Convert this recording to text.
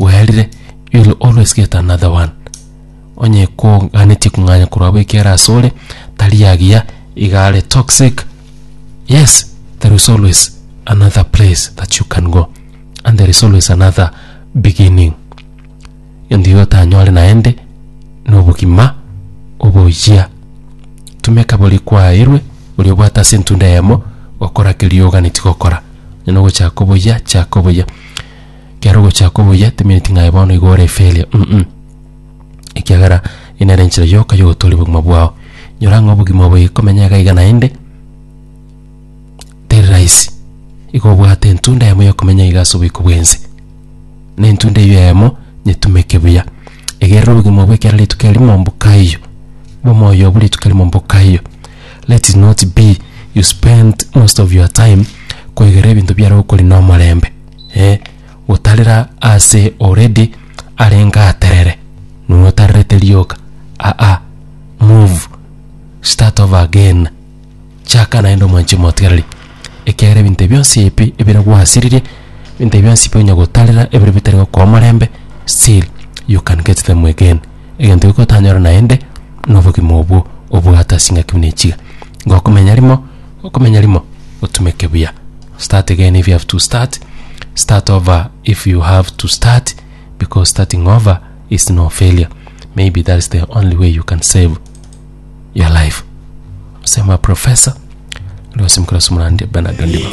bwaerire, you will always get another one. Onye koganetie kong'anya korwa abwo ekiagera asore, tari agiya, iga are toxic, yes, there is always another place that you can go and there is always another beginning. Gento igo otanyore naende na obogima oboyia. Tumeka boria kwaeirwe, boria obwate ase entunda eyemo, gokora keria oganetie gokora. Onye nogochaka oboyia, chaka oboyia. Ekero ogochaka oboyia, temineti ng'a aye bono igo ore efailure mm ekiagera eye nere enchera yoka yogotoria obogima bwao. Nyora ng'a obogima obo ikomenya iga iga naende, teri rahisi. Igo obwate entunda eyemo yokomenya iga ase oboiko bwense. Na entunda eyio eyemo, nyetumeke buya. Egerera obogima obwo ekero rituko erimo mbokaiyo, obomoyo obwo rituko erimo mbokaiyo. Let it not be you spend most of your time koigerera ebinto biare gokorina omorembe eh, gotarera ase already arenge aterere, nonye otarerete rioka aa, move, start over again. Chaka naende omwanche omotigareri, ekiagera ebinto ebi bionsi ebi ebire gwasiririe, ebinto ebi bionsi bi onya gotarera ebire bitari gokoa omorembe, still you can get them again. Egento geke otanyore naende, na obogima obwo obwate ase chingaki buna echiga. Gokomenya rimo, gokomenya rimo, otumeke buya. Start again if you have to start, start over if you have to start, because starting over is no failure. Maybe that is the only way you can save your life. Sema professor, Lewis Mukura Sumurandi, Bernard Ondiba.